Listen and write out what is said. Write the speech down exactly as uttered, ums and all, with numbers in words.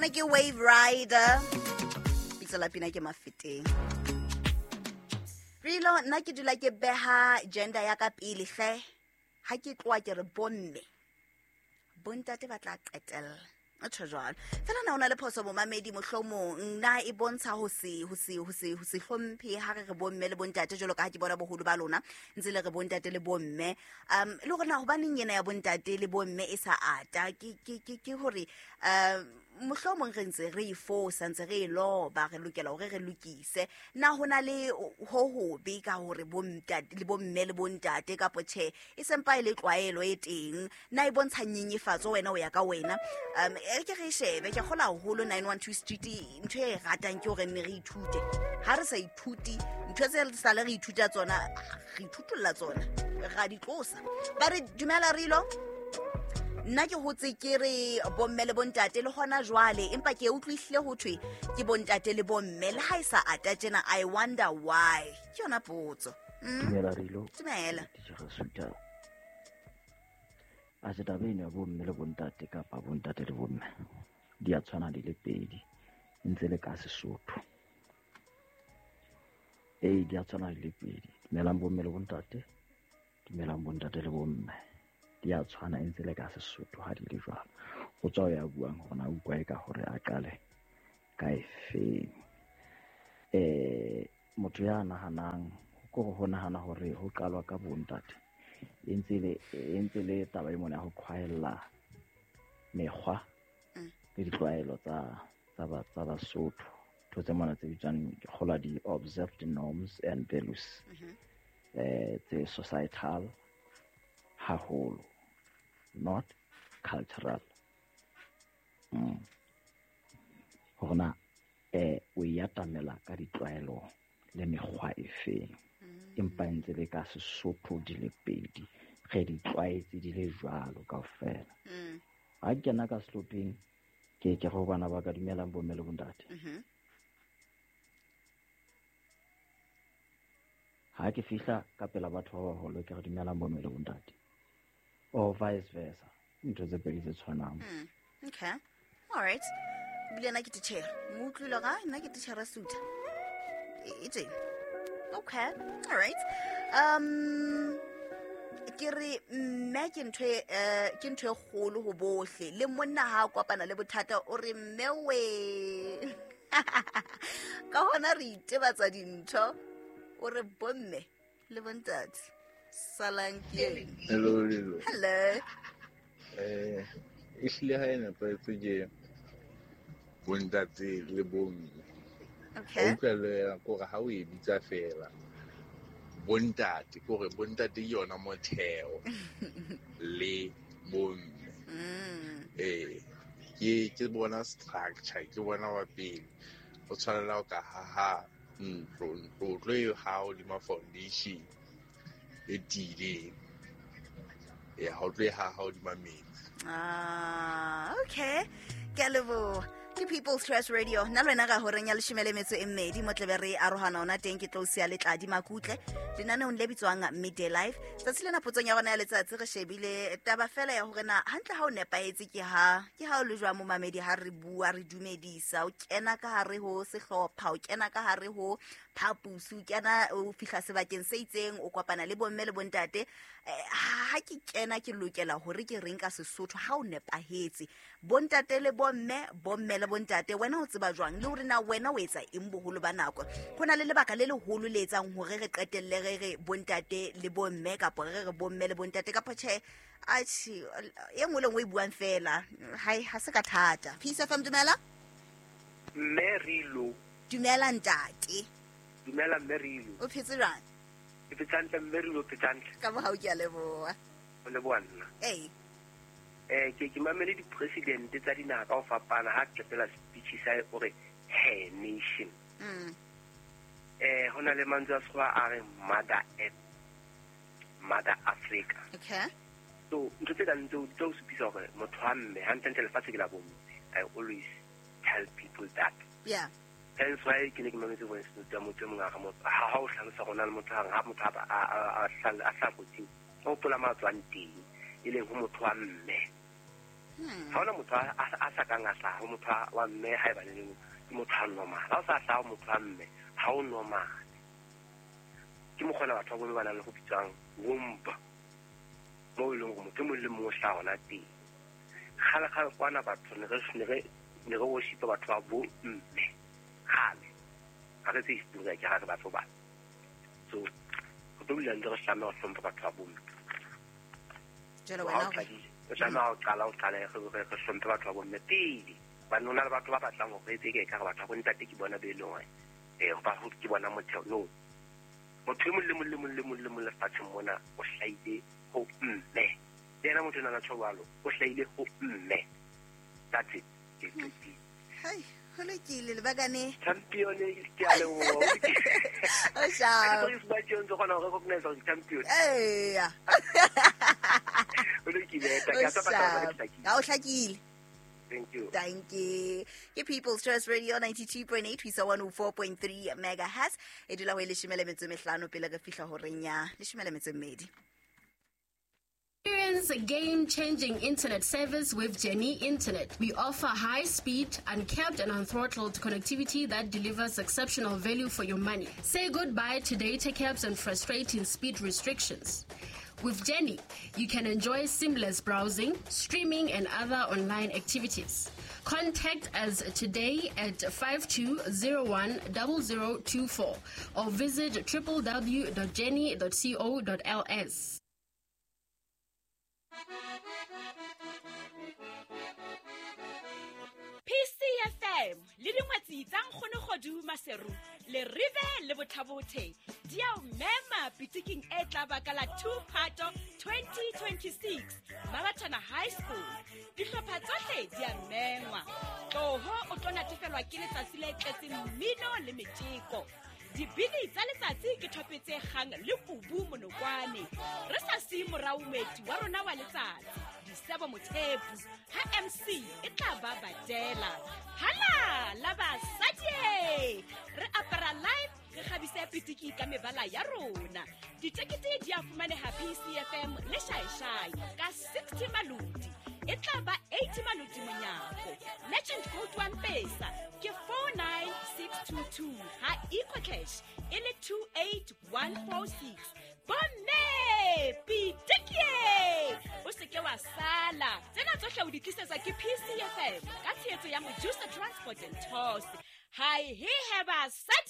Ona ke Wave Rider. Bitso la pina ke Mafeteng. Rilo, nna ke dula ke beha gender ya ka pele hle. Ha ke tloha ke re bomme. Bontate ba tla qetella. O tjho jwalo. Fela na o na le phoso momamedi mohlomong na e bontsha ho se ho se ho se ho se hlomphe ha re re bomme le bontate jwalo ka ha ke bona boholo ba lona ntse le re bontate le bomme. Um le hore na hobaneng yena ya bontate le bomme e sa ata ke ke ke ke hore um mohlomong re ntse re e fosa ntse re e loba re lokela hore re lokise. Na hona le ho hobe ka hore bontate le bomme le bontate kapo tjhe e sempa e le tlwaelo e teng na e bontsha nyenyefatso wena o ya ka wena. Um e ke re shebe ke kgola haholo nine one two Street ntho e ratang ke hore nne re ithute. Ha re sa ithuti ntho tse re sale re ithuta tsona re ithutolla tsona ra di tlosa. Ba re dumela Rilo. Nna ke hotse ke re bomme le bontate le hona jwale empa ke utlwihlile ho thwe ke bontate le bomme le ha e sa ata tjena. I wonder why. Ke yona potso. Dumela Rilo. Dumela. Titjhere Suta. A se taba eno ya bomme le bontate kapa bontate le bomme di a tshwana di le pedi ntse le ka Sesotho. Ee, di a tshwana di le pedi. Dumelang bomme le bontate, dumelang bontate le bomme. Di a tshwana e ntse le ka Sesotho ha di le jwalo. Ho tswa ho ya buang hore na utlwa e ka hore a qale ka efeng. Eh, motho ya nahanang ko ho nahana hore ho qalwa ka bontate e ntse le e ntse le taba e mona ya ho qhwaella mekgwa le ditlwaelo tsa tsa ba tsa Basotho. Ntho tse mona tse bitswang ke kgolwa di observed norms and values eh tse societal haholo, not cultural. Mm. Hore na eh o e atamela ka ditlwaelo le mekgwa e feng, empa ntse le ka Sesotho di le pedi re di tlwaetse di le jwalo kaofela. Ha ke kena ka sehlopheng ke ke go bana ba ka dumelang bomme le bontate. Ha ke fihla ka pela batho ba baholo ke re dumelang bomme le bontate, or vice versa. Ntho tse pedi tse tshwanang. Okay, all right. Ebile nna ke titjhere mo utlwile ga nna ke titjhere Suta e teng. Okay, all right. Um ke re mme ke ntho e ke ntho e kgolo ho bohle le monna ha a kopana le bothata o re mme we. Ka hona re itebatsa dintho o re bomme le bontate salang ke. Hello Lilo. Hello. Eh ehlile ha e nepahetse ke bontate le bomme. Okay. O utlwela kore ha o e bitsa fela bontate kore bontate ke yona motheo le bomme. Eh ke ke bona structure ke bona wa pele o tshwanela ho ka haha ntlo ntlo tlo e ha hodima foundation e tiileng. E ha o tlo e haha hodima metsi. Ah, okay. Ke a leboha. Ke People's Trust Radio. Nna le wena ka horeng ya leshome le metso e mmedi mo tlebe re arohana ona teng ke tlo siya letladi makutle lenaneong le bitswang Midday Life. Tsatsi lena potsong ya rona ya letsatsi re shebile taba fela ya hore na hantle ha o nepahetse ke ha ke ha o le jwang momamedi ha re bua re dumedisa o kena ka hare ho sehlopha o kena ka hare ho phapusi o kena o fihla sebakeng se itseng o kopana le bomme le bontate. Ha ke kena ke lokela hore ke reng ka Sesotho ha o nepahetse bontate le bomme bomme le bontate wena o tseba jwang le hore na wena o etsa eng boholo ba nako. Ho na le lebaka le leholo le etsang hore re qetelle re re bontate le bomme kapa re re bomme le bontate kapa tjhe atjhe e nngwe le nngwe e buang fela hai ha se ka thata. Peace F M dumela. Mme Rilo. Dumela ntate. Dumela mme Rilo. O phetse jwang? Ke phetse hantle mme Rilo, phetse hantle. Ka mohau ke a leboha. O leboha nna. Ee. Eh ke ke mamele di-president tsa dinaha ka ho fapana ha qetela speech sa o re her nation. Mm. Eh ho na le mantswe a Sekgowa a re mother earth, mother Africa. Okay. So ntho tse kang tseo di tla o supisa hore motho wa mme hantlentle lefatshe ke la bomme. I always tell people that. Yeah. Hence why ke ne ke mametse voice note ya motho e mong a re motho ha ha o hlalosa rona le motho ha motho a a a a hla kotsing o hopola ma tswang teng e leng ho motho wa mme. Ha hona motho a sa kang a hlaha motho wa mme ha e bane le motho a normal. Ha o sa hlaha motho wa mme ha o normal. Ke mokgona batho ba bomme ba nang le go bitswang womba. Mo e leng gore motho e mong le mongwe o hlaha hona teng. Kgale-kgale kwana batho ne re ne re ne re worshipa batho ba bo mme. Kgale. Ha re tse history ke ha re batho ba. So re tlo dula ntse re tlameha ho hlompha batho ba bomme. Jwale wena o tlameha ho qala o qale re re hlomphe batho ba bomme pele. Hobane ho na le batho ba batlang hore re etse ke ekare batho ba bontate ke bona be e leng hore eh ba ke bona motheo. No. Motho e mong le mong le mong le mong le mong lefatsheng mona o hlahile ho mme. Le yena motho enwa tjho jwalo, o hlahile ho mme. That's it. Ke qetile. Hai, ho lokile lebakane. Champion ke a leboha. O sharp. Ke ba tjho ntse kgona ho recognize hore champion. Eya. O lokile, ta ka tsa batla Ha o hlakile. Thank you. Thank you. Ke People's Trust Radio ninety-two point eight, ho isa one oh four point three megahertz. E dula ho e leshome le metso e mehlano pele re fihla horeng ya leshome le metso e mmedi. Experience a game-changing internet service with Jenny Internet. We offer high-speed, uncapped and unthrottled connectivity that delivers exceptional value for your money. Say goodbye to data caps and frustrating speed restrictions. With Jenny, you can enjoy seamless browsing, streaming, and other online activities. Contact us today at five two zero one zero zero two four or visit w w w dot jenny dot co dot l s. P C F M le dingwetsi tsa nkgono Kgodu Maseru le Rive le Bothabothe di a o mema pitiking e tla ba ka la two Phato twenty twenty-six Mabatana High School. Dihlopha tsohle di a mengwa. Tloho o tlo natefelwa ke letsatsi le tletseng mmino le metjeko. Dibini tsa letsatsi ke thopetse kgang le kubu monokwane. Re sa siye morao moeti wa rona wa letsatsi, Disebo Mothepu, ha M C e tla ba badela. Hala la basadi! Re apara live, re kgabise pitiki ka mebala ya rona. Ditekete di a fumaneha P C F M le Shaeshai ka sixty maloti. E tla ba eighty maloti monyako. Legend code one pesa ke four nine six two two ha EcoCash e le two eight one four six. Bomme pitikie! O se ke wa sala. Tsena tsohle o di tlisetswa ke P C F M ka tshehetso ya Mojusa Transport and Tours. Hai he he basadi!